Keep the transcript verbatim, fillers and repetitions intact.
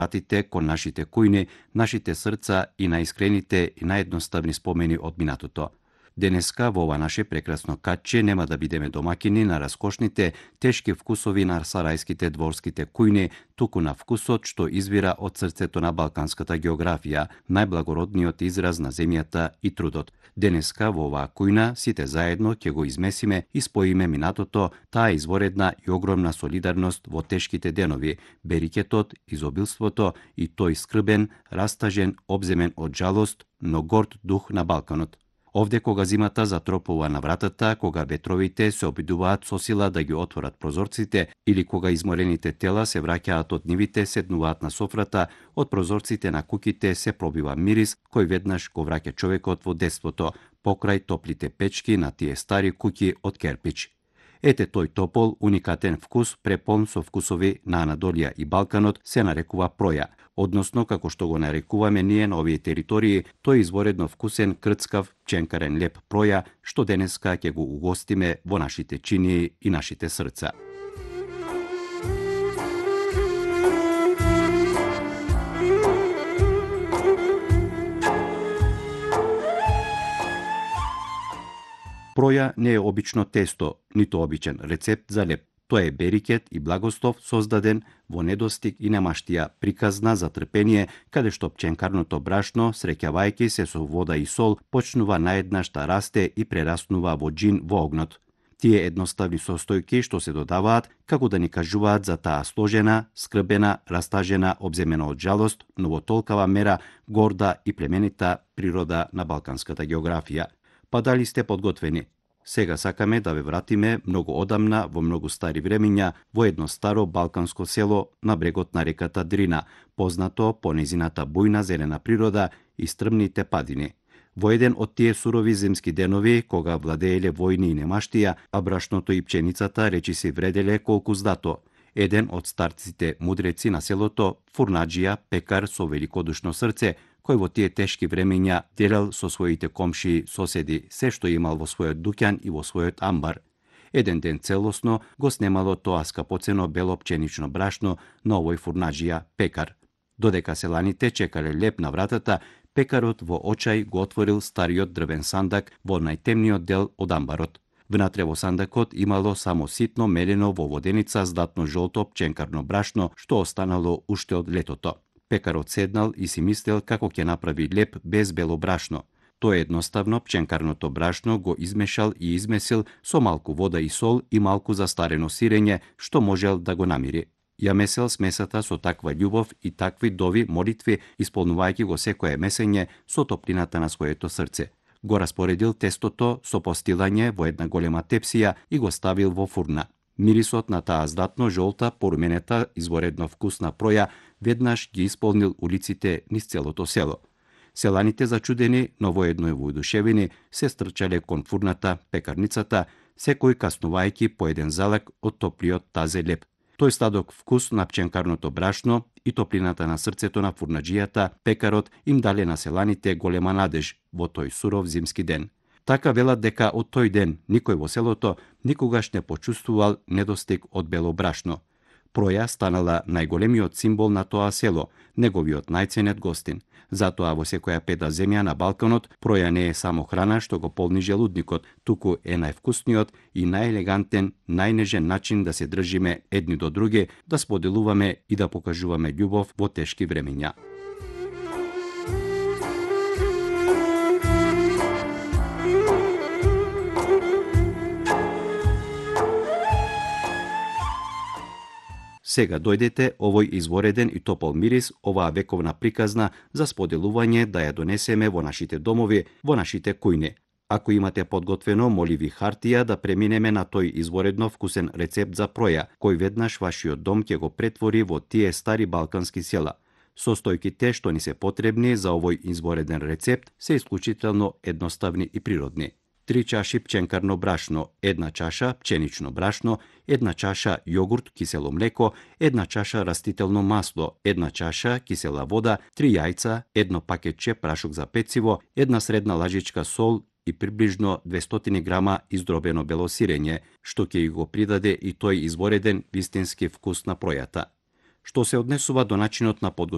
вратите кон нашите кујни, нашите срца и наискрените и наједноставни спомени од минатото. Денеска во ова наше прекрасно катче нема да бидеме домакини на раскошните, тешки вкусови на сарајските дворските кујни, туку на вкусот што извира од срцето на балканската географија, најблагородниот израз на земјата и трудот. Денеска во оваа кујна сите заедно ќе го измесиме и споиме минатото, таа изворедна и огромна солидарност во тешките денови, берикетот, изобилството и тој скрбен, растажен, обземен од жалост, но горд дух на Балканот. Овде кога зимата затропува на вратата, кога ветровите се обидуваат со сила да ги отворат прозорците или кога изморените тела се враќаат од нивите, седнуваат на софрата, од прозорците на куќите се пробива мирис кој веднаш го враќа човекот во детството, покрај топлите печки на тие стари куќи од керпич. Ете тој топол, уникатен вкус, препон со вкусови на Анадолија и Балканот, се нарекува проја, односно како што го нарекуваме ние на овие територии, тој изворедно вкусен, крцкав, пченкарен леп проја, што денеска ќе го угостиме во нашите чинии и нашите срца. Проја не е обично тесто, ниту обичен рецепт за леп. Тоа е берикет и благослов создаден во недостиг и немаштија, приказна за трпение, каде што пченкарното брашно, среќавајќи се со вода и сол, почнува наеднаш да расте и прераснува во џин во огнот. Тие едноставни состојки што се додаваат, како да ни кажуваат за таа сложена, скрбена, растажена, обземена од жалост, но во толкава мера горда и племенита природа на балканската географија. Па дали сте подготвени? Сега сакаме да ве вратиме многу одамна, во многу стари времиња, во едно старо балканско село на брегот на реката Дрина, познато по незината бујна зелена природа и стрмните падини. Во еден од тие сурови зимски денови, кога владееле војни и немаштија, а брашното и пченицата речиси вределе колку здато, еден од старците мудреци на селото, фурнаџија, пекар со великодушно срце, кој во тие тешки времења делел со своите комши соседи се што имал во својот дуќан и во својот амбар. Еден ден целосно го снемало тоа скапоцено бело пченично брашно на овој фурнаџија пекар. Додека селаните чекале леп на вратата, пекарот во очај го отворил стариот дрвен сандак во најтемниот дел од амбарот. Внатре во сандакот имало само ситно мелено во воденица здатно жолто пченкарно брашно што останало уште од летото. Пекарот седнал и си мислел како ќе направи леп без бело брашно. Тој едноставно пченкарното брашно го измешал и измесил со малку вода и сол и малку застарено сирење што можел да го намири. Ја месел смесата со таква љубов и такви дови молитви, исполнувајќи го секое месење со топлината на своето срце. Го распоредил тестото со постилање во една голема тепсија и го ставил во фурна. Мирисот на таа здатно жолта, поруменета, изворедно вкусна проја веднаш ги исполнил улиците низ целото село. Селаните зачудени, но воедно воодушевени, се стрчале кон фурната, пекарницата, секој каснувајќи по еден залак од топлиот тазе леп. Тој стадок вкус на пченкарното брашно и топлината на срцето на фурнаџијата, пекарот им дале на селаните голема надеж во тој суров зимски ден. Така велат дека од тој ден никој во селото никогаш не почувствувал недостиг од бело брашно. Проја станала најголемиот символ на тоа село, неговиот најценет гостин. Затоа во секоја пета земја на Балканот проја не е само храна што го полни желудникот, туку е највкусниот и најелегантен, најнежен начин да се држиме едни до други, да споделуваме и да покажуваме љубов во тешки времења. Сега дојдете овој извореден и топол мирис, оваа вековна приказна за споделување да ја донесеме во нашите домови, во нашите кујни. Ако имате подготвено, моли ви хартија да преминеме на тој изворедно вкусен рецепт за проја, кој веднаш вашиот дом ќе го претвори во тие стари балкански села. Состојките што ни се потребни за овој извореден рецепт се исклучително едноставни и природни. Три чаши пченкарно брашно, една чаша пченично брашно, една чаша јогурт, кисело млеко, една чаша растително масло, една чаша кисела вода, три јајца, едно пакетче прашок за пециво, една средна лажичка сол и приближно двестоти грама издробено бело сирење, што ќе го придаде и тој извореден вистински вкус на пројата. Што се однесува до начинот на подготвување